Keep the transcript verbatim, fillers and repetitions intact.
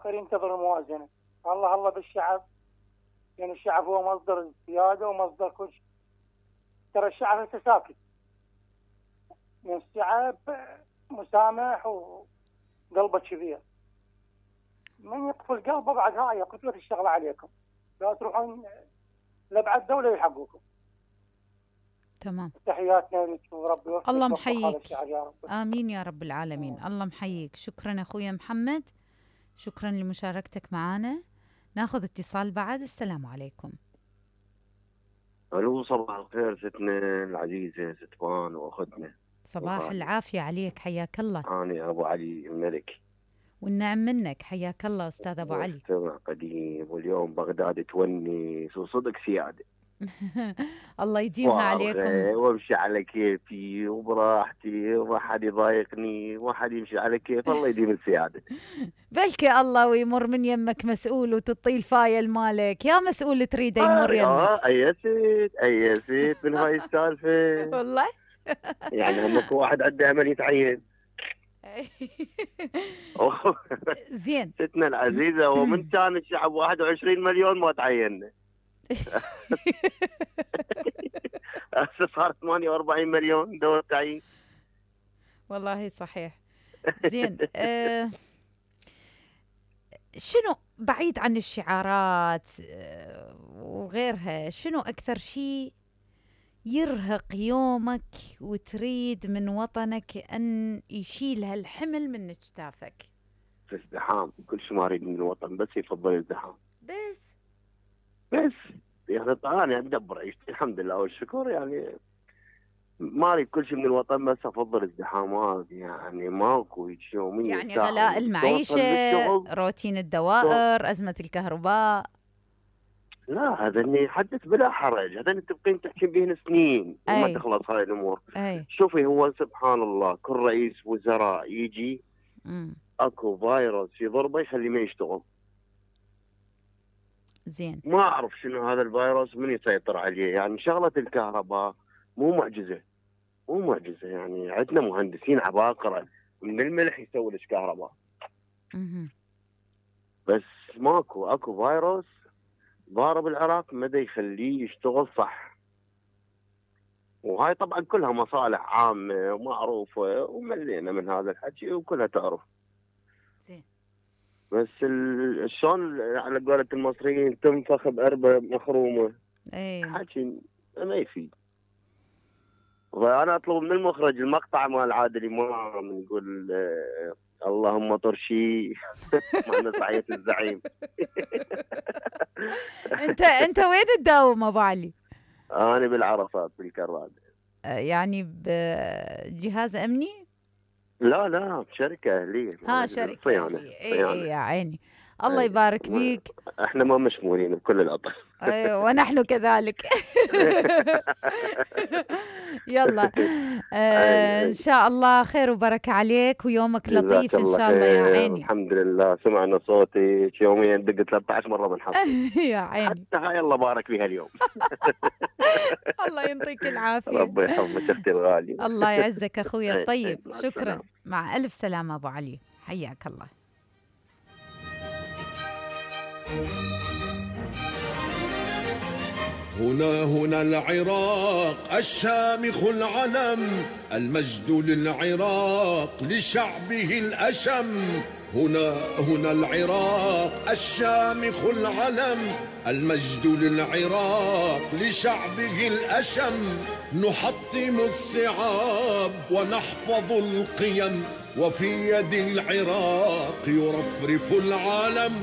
الاخر ينتظر الموازنه. الله الله بالشعب، يعني الشعب هو مصدر السياده ومصدر كل شيء. ترى الشعب هسه ساكت، يعني الشعب مسامح وقلبه كبير. من يقفل قلبه بعد هاي قتلت الشغله عليكم، لا تروحون لبعد دوله يلحقوكم. تمام. تحياتنا لك وربي يوفقك. الله محييك. يا رب. امين يا رب العالمين. الله محييك. شكرا اخويا محمد، شكرا لمشاركتك معنا. ناخذ اتصال بعد. السلام عليكم. الو صباح الخير ستنا العزيزه ستوان واختنا. صباح وغالي. العافيه عليك، حياك الله. انا ابو علي الملك. والنعم منك، حياك الله استاذ ابو علي. مستمع قديم، واليوم بغداد تونس وصدق سياده. الله يديمها عليكم. وامشي على كيفي وبراحتي وما حد يضايقني وما حد يمشي على كيف. الله يديم السياده. بلكي الله ويمر من يمك مسؤول وتطي الفايل مالك يا مسؤول تريده يمر يمك. اه ايسيت ايسيت من هاي السالفه. والله يعني همك واحد عنده امل يتعين. زين ستنا العزيزه، ومن كان الشعب واحد وعشرين مليون ما تعيننا. هسه صار ثمانية وأربعين مليون دور تعيين. والله صحيح. زين أه شنو بعيد عن الشعارات أه وغيرها، شنو أكثر شيء يرهق يومك وتريد من وطنك أن يشيل هالحمل من اجتافك؟ في ازدحام، كل شيء ما أريد من الوطن بس يفضل الازدحام. بس بس يعني أنا أدبر عيشتي الحمد لله والشكر، يعني ما أريد كل شيء من الوطن بس أفضل ازدحامات. يعني ماكو يوميا يعني غلاء المعيشة، روتين الدوائر، أزمة الكهرباء. لا هذا اللي يحدث بلا حرج، هذا اللي تبقين تحكي بهن سنين وما تخلص هاي الامور. أي. شوفي هو سبحان الله كل رئيس وزراء يجي مم. اكو فيروس يضربه يخليه ما يشتغل. زين. ما اعرف شنو هذا الفيروس من يسيطر عليه. يعني شغله الكهرباء مو معجزه، مو معجزه، يعني عندنا مهندسين عباقره من الملح يسوي لك كهرباء. مم. بس ماكو اكو فيروس ضارب العراق مدى يخليه يشتغل صح. وهاي طبعا كلها مصالح عامة ومعروفة وملينا من هذا الحكي وكلها تعرف. زين. بس شلون على قولة المصريين تنفخ بأربة مخرومة. اي حكي ما يفيد. فأنا أطلب من المخرج المقطع مال عادل إمام يقول آه اللهم طرشي معنا صعية الزعيم. انت انت وين تداوم ابو علي؟ انا بالعرفات بالكراد. يعني بجهاز امني؟ لا لا بشركه اهليه. ها شركه صيانه. اي اي يا عيني الله يبارك بيك. احنا ما مشمولين بكل الاطراف. ايوه ونحن كذلك. يلا آه ان شاء الله خير وبركه عليك ويومك لطيف ان شاء الله يا عيني. الحمد لله سمعنا صوتك يوميا دق ثلاثة عشر مره بنحصل. يا عيني حتى هاي الله بارك فيها اليوم. الله يعطيك العافيه. ربي يحفظك اختي الغاليه. الله يعزك اخوي الطيب. شكرا. مع الف سلامه ابو علي، حياك الله. هنا هنا العراق الشامخ العلم، المجد للعراق لشعبه الأشم. هنا هنا العراق الشامخ العلم، المجد للعراق لشعبه الأشم. نحطم الصعاب ونحفظ القيم، وفي يد العراق يرفرف العالم.